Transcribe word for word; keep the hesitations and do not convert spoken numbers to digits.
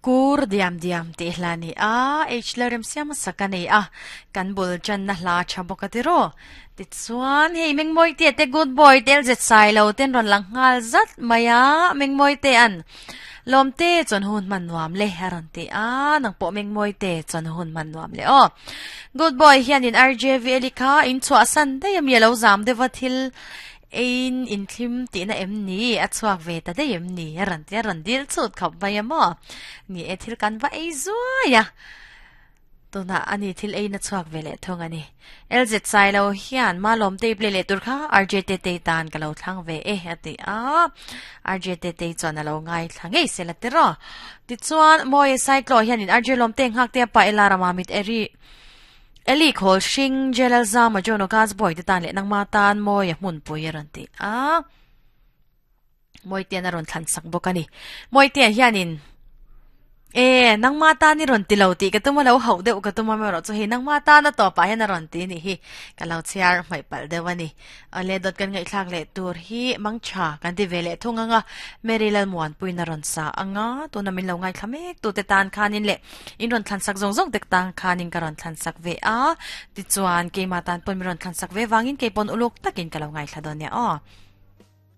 Kur diam diam tih hla ni a, H Lalremsiama sak a nei a, kan bul channa hla tha bawk a tiraw. Tichuan hei Mengmawi te te good boy tel zet sai lo ten rawn lang nghal zat mai a, Mengmawi te an lawm te chuan hun hman nuam le a rawn ti a, nang pawh Mengmawi te chuan hun hman nuam le aw. Good boy hianin R J V Eli kha in chhuah san daih a mi a lo zam deuh a thil Ein inthlim tihna em ni? A chhuak ve ta daih em ni? A rawn ti a rawn dil chhut khawp mai a maw? Ni e, thil kan va ei zuai a. Tunah a ni thil eiin a chhuak ve leh thung a ni. L Z Sailo hian Malawm Table leh tur kha R J Tetei tan ka lo thlang ve e a ti a. R J Tetei chuan a lo ngaithla ngei se la tiraw. Tichuan Mawi Saiklo hianin R J Lawmte nghak te a pa Ela Rama mit eri Eli khawl hring Jalal Zama John Ogas boy te tan leh nangma tan mawi a hmunpui a rawn ti a, Mawitean a rawn thlan sak bawk a ni. Mawitea hianin E, nangma tan i rawn ti lo tih ka tum a, lo hauh deuh ka tum a erawh chu hei nangma tan a tawpah hian a rawn ti nih hi ka lo chhiar hmaih palh deuh a ni. Awle dawt kan ngaihthlak leh tur hi mang tha kan ti ve leh thung ang a, Mary Lalmuanpuiin a rawn sa ang a, tuna min lo ngaithla mek tute tan khanin leh In rawn thlan sak zawng zawng tek tang khanin ka rawn thlan sak ve a, tichuan keimah tan pawn min rawn thlan sak ve vangin kei pawn uluk takin ka lo ngaithla dawn nia aw.